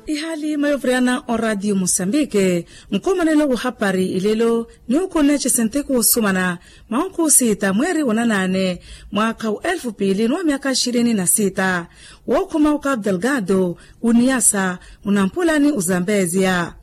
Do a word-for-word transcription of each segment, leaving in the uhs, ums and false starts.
Ihaali mayoviriyana oraatiyo musambike, nkhumanelo wahapari ilelo ni ukunne cesenteko wosumana, mwaha okhusita mweeri wonanaane mwaakha wa elfu piili ni wa myaakha ishirini na sita, wookhuma okapu delgado, uniyasa, unampula ni uzambeziya.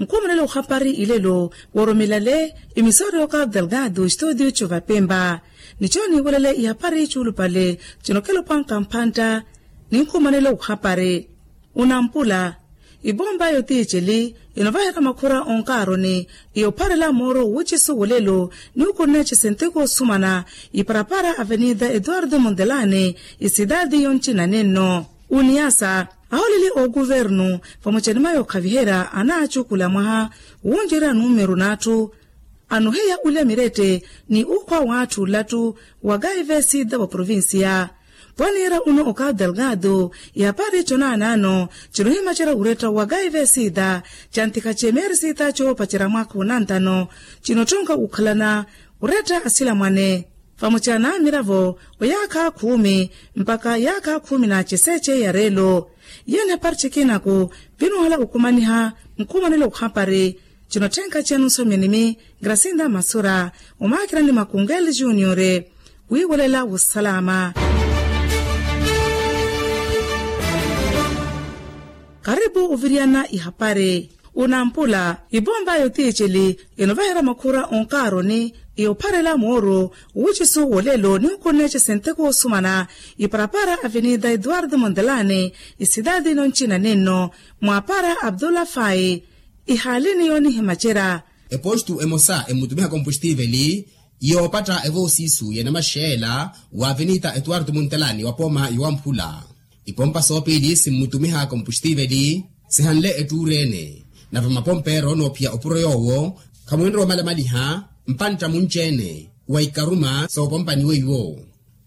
Nkhumanelo wahapari ilelo wooromelale, imisori okapu delgado studio covapimba. Nicho niiwelele ihapari chuulupale chinokelopwanka mpantta, ni nkhumanelo wahapari. Unampula, ipompa yotiiceli, inovaherya makhura onkaaroni, iyopharela mooro wucisu wolelo, ni ukunne cesenteko osumana, iparapara avenida eduardo mondelani, isitaati yoncina nenno. Uniyasa, aholeli ookuvernu, vamoca ni mayo okhaviherya anaacukula mwaha, wuncerya numeru n'atthu, anuhiya ulya mirette, ni ukhwa w'atthu olattu, wa kaivesida wa provincia. Pwaniira uno okapu delgado, ihapari chonaanaano, chinohimacerya uretta wa kaivesida, chantikhache meerisida choopacerya mwaakha wonantano, chinottonka wukhalana, uretta asilamwane. Vamoca n'amiravo, oyaakha khuumi, mpakha yaakha khuumi na ceseche ya reelo. Yene hapari chekinaku, pinuhala okhumaniha, nkhumanelo wahapari. Chinotthenka chenu nsomyeni mi, grasinda masura, omaakirani makungeeli juniore, wiiwelela wosalaama. Karipu oviriyana ihapari. Unampula, ipompa yotiiceli, inovaherya makhura onkaaroni, iyopharela mooro, wucisu wolelo ni ukunne cesenteko wosumana, iparapara avenida eduardo mondelani, isitaati noncina nenno, mwaapara abdullah fai. Ihaalini yoonihimacerya. Epostu emosa emmutumiha kompostiveli, yoopatta evoosisu ya namaxeela, wa avenida eduardo mondelani wa pooma yowamphula. Ipompa soopiili simmutumiha kompostiveli, sihanle ettuuri-ene, nave mapompeero noophiya opuro yoowo, khamwinre omalamaliha, mpantta munci-ene, wa ikaruma soopompaniwe iwo.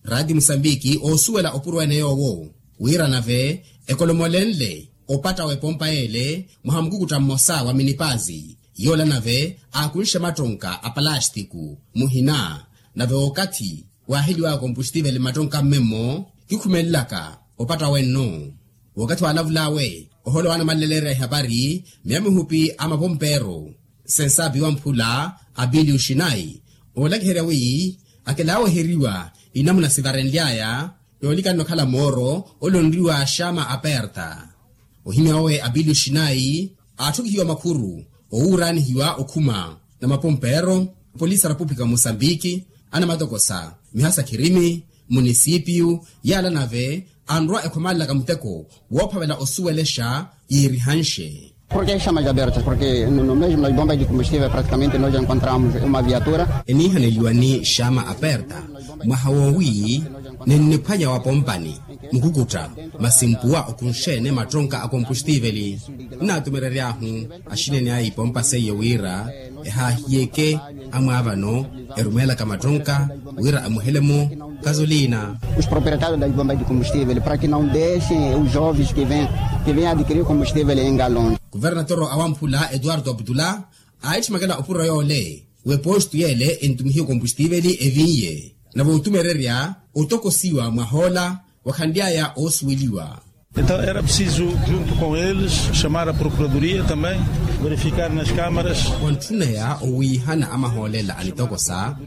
Raati musambiki oosuwela opuro-ene yoowo, wira nave, ekolomolenle, opatta w'epompa y'ele, mwaha mukukutta mmosa wa minipazi, yoola nave, aakunxe mattonka a palastiku, muhina, nave okathi, waaheliwaka kompostiveli mmattonka mmemmo, kikhumelelaka, opatta wenno. Wakathi waalavul'awe, oholo wa anamaleleleerya ihapari, miya mihupi a mapompeero, sensaapi wamphula, apili oxinayi, oolakiherya wi, akelaaweheriwa, inamuna sivarenly'aya, yoolikana okhala mooro, ole onriwa xama aperta. Ohimya owe apili oxinayi, aatthukihiwa makhuru, owuuraanihiwa okhuma, na mapompeero, polisi a repupulika musambiki, anamatokosa, mihasa khirimi, munisipiyu, yaala nave, anrwa ekhomaalelaka muteko, woophavela osuwelexa, yiirihanxe. Porke xama jaberta porke no mesmo nas bombas de combustível praticamente nos encontramos uma viatura. Eniihaneliwa ni xama aperta, mwaha woowi, ninniphwanya wa pompani, mukukutta, masi mpuwa okunxe-ene mattonka a kompostiveli. Nnaatumerery'ahu, axinene a ipompa seiyo wira, ehaahiyeke, amwaavano, erumeelaka mattonka, wira emuhele-mo, kazolina. Os proprietários das bombas de combustível para que não deixem os jovens que vêm que vêm adquirir combustível em galões. Kuvernatoro awamphula etuwarto aputula, aitthimekela opuro yoole, w'epostu yeele entumihiwe kompostiveli eviiye, nave otumererya otokosiwa mwahoola, wakhanly'aya oosuweliwa. Entaw era preciso junto com eles, chamar a procuradoria também, verificar nas kamaras. Wantthuneya owiihana amahoolela anitokosa,